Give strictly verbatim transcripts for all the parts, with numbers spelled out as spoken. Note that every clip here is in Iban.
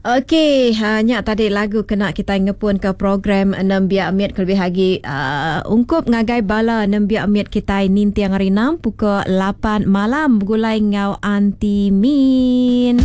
Okey, hanya tadi lagu kena kita ngepun ke program Nembiak Mit kelebih lagi uh, ungkup ngagai bala Nembiak Mit kita nintiang hari enam pukul lapan malam begulai ngau Aunty Min.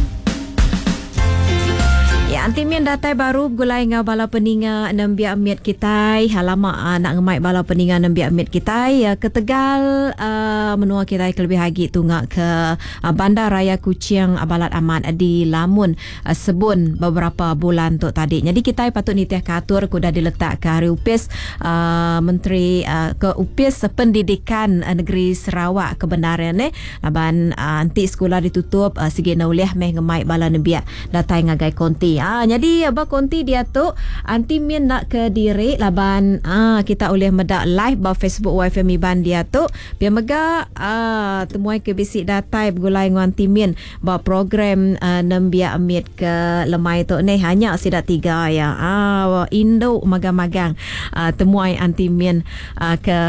Ya, Aunty Min datai baru begulai ngau bala peninga Nembiak Mit kita. Lama uh, nak ngemai bala peninga Nembiak Mit kita ya, ke Tegal uh, menua kita kelebih lagi tunga ke uh, Bandar Raya Kuching uh, Balat Amat uh, di Lamun uh, Sebun beberapa bulan tu tadi. Jadi kita patut nitiah katur kuda diletak ke hari upis uh, Menteri uh, ke Upis Pendidikan uh, Negeri Sarawak kebenaran eh. Laban uh, anti sekolah ditutup uh, segi naulih meh ngemai bala nembiak datai ngagai konti. Ah, jadi abah konti dia tu Aunty Min nak ke diri laban ah, kita boleh medak live ba Facebook Y F M Iban dia tu. Biar mega ah, temuai ke bisik datai begulai ngan Aunty Min ba program ah, Nembiak Mit ke lemai tu ni hanya sidak tiga ya. Ah, Indo magang-magang ah, temuai Aunty Min ah, ke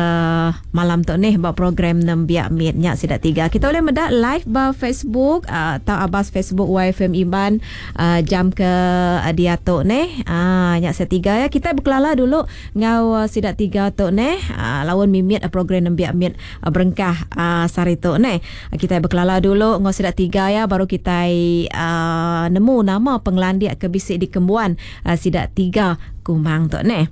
malam tu ni ba program Nembiak Mit nya sidak tiga. Kita boleh medak live ba Facebook ah, atau abas Facebook Y F M Iban ah, jam ke dia tu neh. Ah, nyak setiga ya. Kita berkelala dulu ngau uh, sidak tiga tu neh. Ah, lawan mimit uh, program Nembiak Mit uh, berengkah uh, sari tu neh. Kita berkelala dulu ngau sidak tiga ya, baru kita uh, nemu nama penglandiak ke bisik di Kembuan uh, sidak tiga kumang tu neh.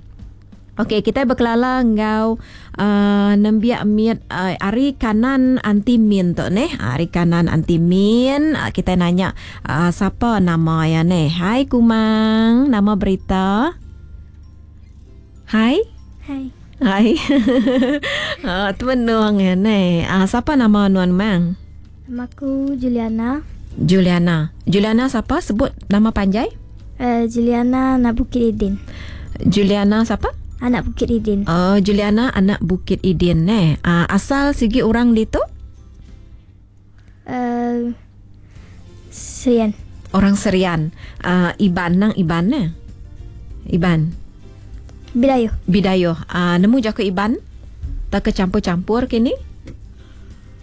Okey, kita berkelala ngau uh, Nembiak Mit uh, ari kanan Aunty Min tu neh. Ari kanan Aunty Min, uh, kita nanya uh, siapa nama ya neh. Hai Kumang, nama berita? Hai. Hai. Hai. uh, tuan ya neh. Uh, siapa nama nuan mang? Nama aku Juliana. Juliana. Juliana siapa? Sebut nama panjang? Uh, Juliana anak Bukit Idin. Juliana siapa? Anak Bukit Idin. Oh, Juliana anak Bukit Idin eh. Uh, asal segi orang ditu? Uh, Serian. Orang Serian. Uh, Iban nang Iban eh. Iban. Bidayo. Bidayo. Uh, nemu jaku Iban? Tak kecampur-campur kini?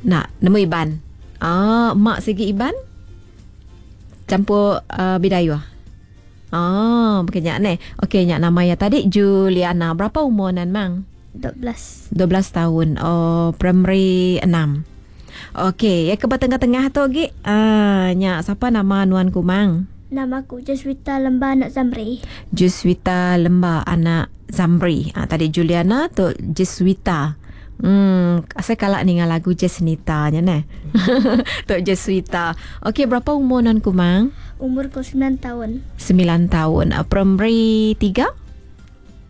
Nak, nemu Iban. Ah, uh, mak segi Iban? Campur uh, Bidayo. Ah, bukannya ni. Okey, nyak nama ya tadi Juliana. Berapa umur nan mang? dua belas. dua belas tahun. Oh, primary enam. Okey, ya ke tengah-tengah tu lagi. Ah, nyak siapa nama nuan kumang? Nama aku Juswita Lemba anak Zamri. Juswita Lemba anak Zamri. Ah, tadi Juliana tu Juswita. Hmm, saya kalak ni dengan lagu Jesnita nya neh. Tok Jeswita. Okey, berapa umur non kumang? Umur ku sembilan tahun. Sembilan tahun. Uh, primary tiga?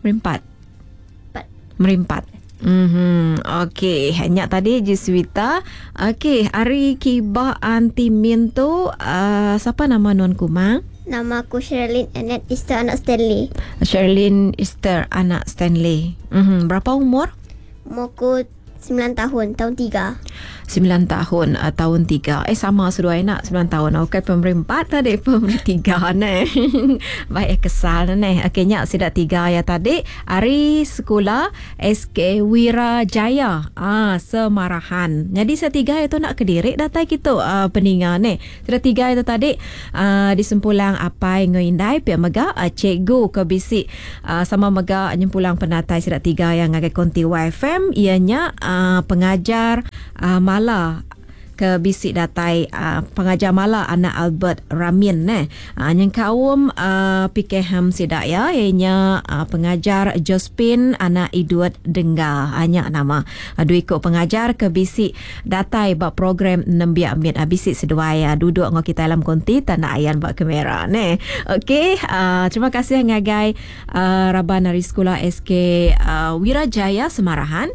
Primary empat? Empat. Primary empat. Mhm. Okey, hanya tadi Jeswita. Okey, hari kiba Aunty Min tu uh, siapa nama non kumang? Nama aku Sherlyn Annette Easter anak Stanley. Sherlyn Easter anak Stanley. Mhm. Berapa umur? Umurku sembilan tahun, tahun tiga. Sembilan tahun, uh, tahun tiga. Eh, sama seduai nak sembilan tahun. Okey, pemberi empat tadi, pemberi tiga ni. Baik, kesal ni. Okey, nyak sidak tiga ya tadi. Hari sekolah S K Wirajaya. Ah, Semarahan. Jadi setiga itu nak kedirik datai kita uh, peninga ni. Sidak tiga itu tadi uh, disempulang apai ngoindai pihak mega uh, cikgu ke bisik uh, sama mega nyempulang penatai sidak tiga yang ngagai konti Y F M ianya uh, pengajar uh, Mala ke bisik datai uh, pengajar Mala anak Albert Ramin neh. Uh, yang kaum uh, P K H M sidak ya ianya uh, pengajar Josephine anak Idut Dengga hanya nama uh, dua ikut pengajar ke bisik datai bab program Nembiak Mit uh, bisik seduai uh, duduk ngau kita dalam konti tanah ayan bab kamera neh. Okey, uh, terima kasih ngagai uh, Raban dari sekolah S K uh, Wirajaya Semarahan.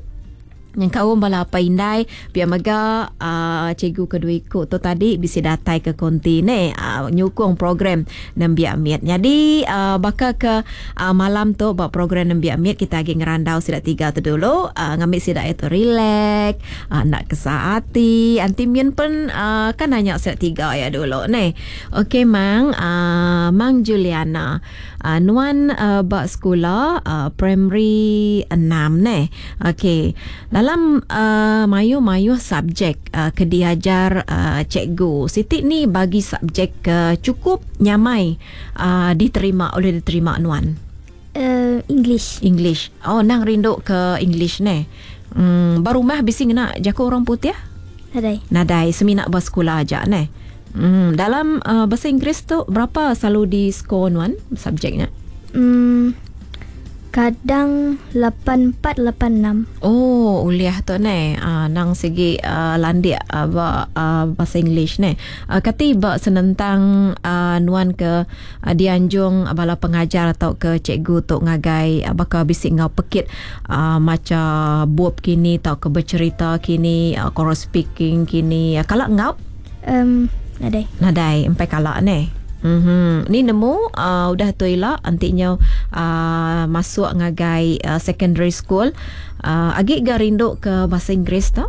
Yang kaum bala apa indai biar mega uh, cikgu kedua ikut tu tadi bisa datai ke konti ni uh, nyukung program Nembiak Mit. Jadi uh, bakal ke uh, malam tu buat program Nembiak Mit kita lagi ngerandau sidak tiga tu dulu uh, ngambil sidak itu relax uh, nak kesaati anti min pun uh, kan nanya sidak tiga ya dulu ni. Okey mang uh, mang Juliana uh, nuan uh, bak sekolah uh, primary enam ni. Okey. Dalam uh, mayu-mayu subjek uh, ke diajar uh, cikgu, Siti ni bagi subjek ke cukup nyamai uh, diterima oleh diterima nuan. Uh, English. English. Oh, nang rindu ke English ne. Hmm, baru mah bisi ngena jaku orang putih? Nadai. Nadai, semina bersekolah aja ne. Hmm, dalam uh, bahasa Inggeris tu berapa selalu di skor nuan subjeknya? Hmm, kadang lapan empat lapan enam. Oh, uliah tu ne. Uh, nang segi uh, landik uh, ba, uh, bahasa English ne. Uh, kati ba senentang uh, nuan ke uh, dianjung bala pengajar atau ke cikgu tu ngagai uh, bakal bisik ngau pekit uh, maca bup kini atau ke bercerita kini, uh, choral speaking kini. Uh, kalau ngau? Um, nadai. Nadai, empai kalak ne. Mm-hmm. Ni nemu uh, udah tu ila antiknya uh, masuk ngagai uh, secondary school uh, agi ga rindu ke bahasa Inggeris tu?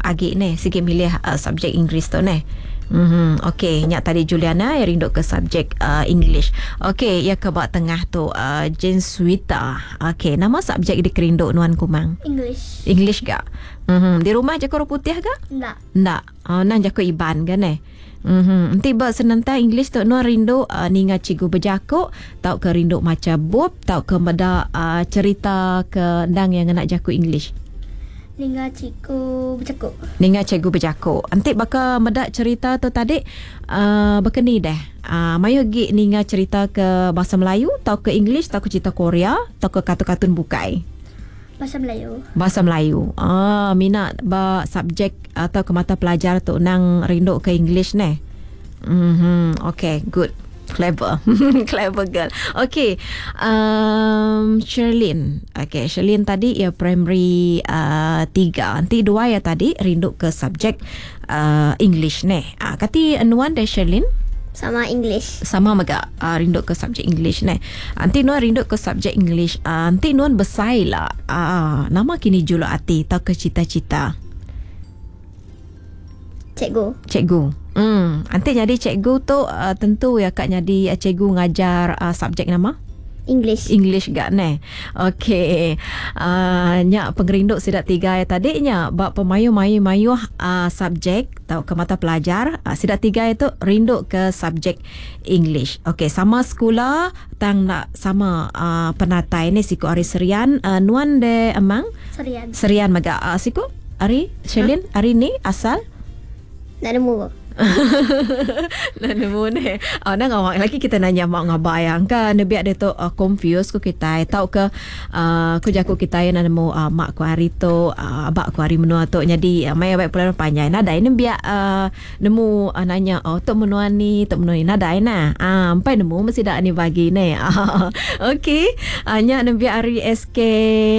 Agi ne sikit milih uh, subjek Inggeris tu ne. Mm-hmm. Okey, nyak tadi Juliana yang rindu ke subjek uh, English. Okey, ya ke bak tengah tu uh, Jane Suita. Okey, nama subjek dikerindu nuan kumang? English. English ga? Mm-hmm. Di rumah jago orang putih ga? Ndak. Ndak. Uh, nang jago Iban ga ne? Mm-hmm. Nanti buat senentang English tu nuan rindu uh, ninga cikgu berjakuk, tau ke rindu maca bup, tau ke meda uh, cerita ke ndang yang nak jakuk English. Ninga cikgu berjakuk. Ninga cikgu berjakuk. Nanti baka meda cerita tu tadi uh, berkeni deh. Uh, mayu gi ninga cerita ke bahasa Melayu, tau ke English, tau ke cerita Korea, tau ke kartun-kartun bukai. Bahasa Melayu. Bahasa Melayu. Ah, minat ba subjek atau ke mata pelajar tu nang rindu ke English ne. Mhm. Okay, good. Clever. Clever girl. Okay. Um, Sherlyn. Okay, Sherlyn tadi ya primary uh, tiga. Nanti dua ya tadi rindu ke subjek uh, English ne. Ah, kati nuan deh Sherlyn? Sama English. Sama mega uh, rindu ke subjek English ne. Nanti nuan rindu ke subjek English. Uh, nanti nuan besai lah. Uh, nama kini juluk hati atau ke cita-cita? Cikgu. Cikgu. Hmm, nanti jadi cikgu tu uh, tentu ya kak jadi uh, cikgu ngajar uh, subjek nama? English. English gak ne. Okey. Uh, nyak pengerinduk sidak tiga ya tadi nya bab pemayu-mayu-mayu uh, subjek atau ke mata pelajar uh, sidak tiga itu rinduk ke subjek English. Okey, sama sekolah tang nak sama uh, penatai ni siku Ari Serian, uh, nuan de emang? Serian. Serian mega uh, siku Ari Sherlyn huh? Ari ni asal? Nak nemu. Nak nemu ni. Oh, nak ngawak lagi kita nanya mak ngabayang kan. Biar dia tu uh, confused ku kita. Tahu ke uh, ku jaku kita yang nak nemu uh, mak ku hari tu, uh, abak ku hari menua tu. Jadi uh, maya baik pulang panjang. Nadai ni biar uh, nemu uh, nanya oh tok menua ni, tok menua ni nadai nah. Ah, empai nemu mesti dak ni bagi ni. Okey. Uh, nyak nembiak hari S K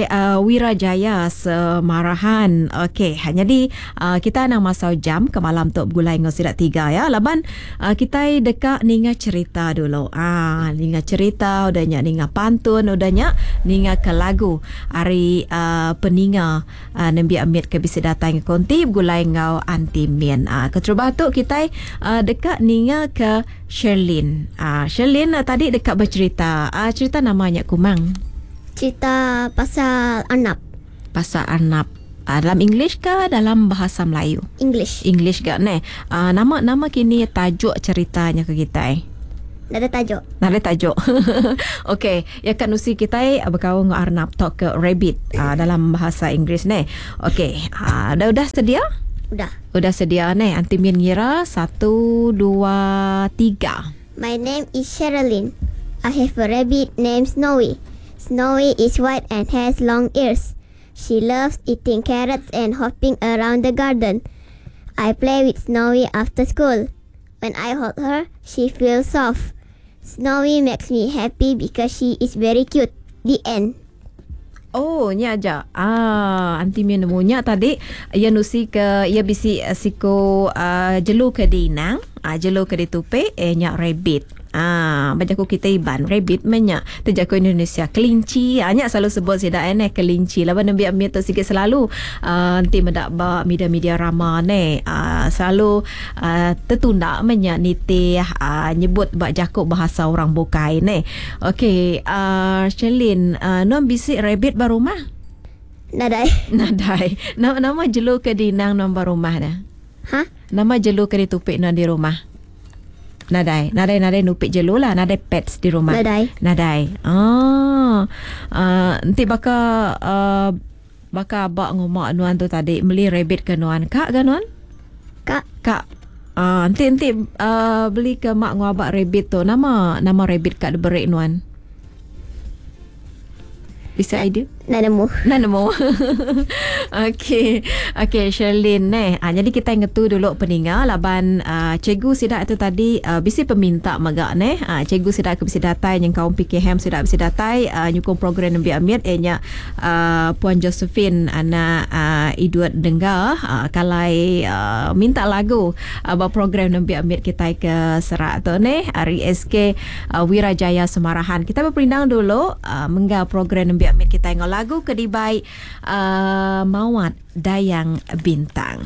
uh, Wirajaya Semarahan. Okey, jadi uh, kita nak masau jam ke malam tok gulai ngau sidak tiga ya. Laban uh, kita dekat ninga cerita dulu. Ah, ninga cerita udah nyak ninga pantun udah nyak ninga ke lagu hari uh, peninga uh, nembiak amit ke bisi datang ke konti gulai ngau anti min. Ah, keterubah tu kita uh, dekat ninga ke Sherlyn. Ah, Sherlyn uh, tadi dekat bercerita. Ah, cerita namanya kumang. Cerita pasal Arnab. Pasal Arnab. Uh, dalam English ke dalam bahasa Melayu? English. English ke ne? Uh, nama nama kini tajuk ceritanya ke kita eh? Nak ada tajuk. Nak ada tajuk. Okey, ya kan usi kita berkawan dengan Arnab talk ke rabbit uh, dalam bahasa Inggeris ne. Okey, uh, dah dah sedia? Udah. Udah sedia ne. Anti Min ngira satu dua tiga. My name is Sherilyn. I have a rabbit named Snowy. Snowy is white and has long ears. She loves eating carrots and hopping around the garden. I play with Snowy after school. When I hold her, she feels soft. Snowy makes me happy because she is very cute. The end. Oh, ni aja. Ah, anti mi nemunya tadi ia nusi ke ia bisi siko uh, jelu ke dinang, ah jelu ke ditupe eh nyak rabbit. Ah, baca aku kita iban rabbit menyak terjaku Indonesia kelinci. Ah, nyak selalu sebut sidak eh kelinci. Laban nembiak mi tu sikit selalu uh, nanti mendak ba media-media rama ne. Ah, selalu uh, tertunda menyak nitih uh, nyebut bak jakuk bahasa orang bukai ne. Okey, uh, Sherlyn, uh, non bisik rabbit ba rumah? Nadai. Nadai. Nama, nama jelu ke dinang nombor rumah dah? Ha? Nama jelu ke ditupik non di rumah? Nadai. Nadai nadai nupik jelu lah. Nadai pets di rumah. Nadai. Nadai. Ah. Uh, nanti baka uh, baka abak ngomak nuan tu tadi beli rabbit ke nuan. Kak ke nuan? Kak. Kak. Ah, nanti nanti uh, beli ke mak ngau abak rabbit tu. Nama nama rabbit kak diberi nuan. Bisa idea? Nak nemu. Nak nemu. Okey. Okey, Sherlyn eh. Ah, jadi kita ngetu dulu peninga laban uh, cikgu sidak itu tadi uh, bisi peminta megak neh. Ah, cikgu sidak ke bisi datai yang kaum P K M sidak bisi datai uh, nyukung program Nembiak Mit eh nya uh, Puan Josephine anak uh, Edward Dengga uh, kalai uh, minta lagu uh, ba program Nembiak Mit kita ke Serak tu neh hari S K uh, Wirajaya Semarahan. Kita berperindang dulu uh, menggal program Nembiak Mit kita ngau lagu kedibai uh, Mawat Dayang Bintang.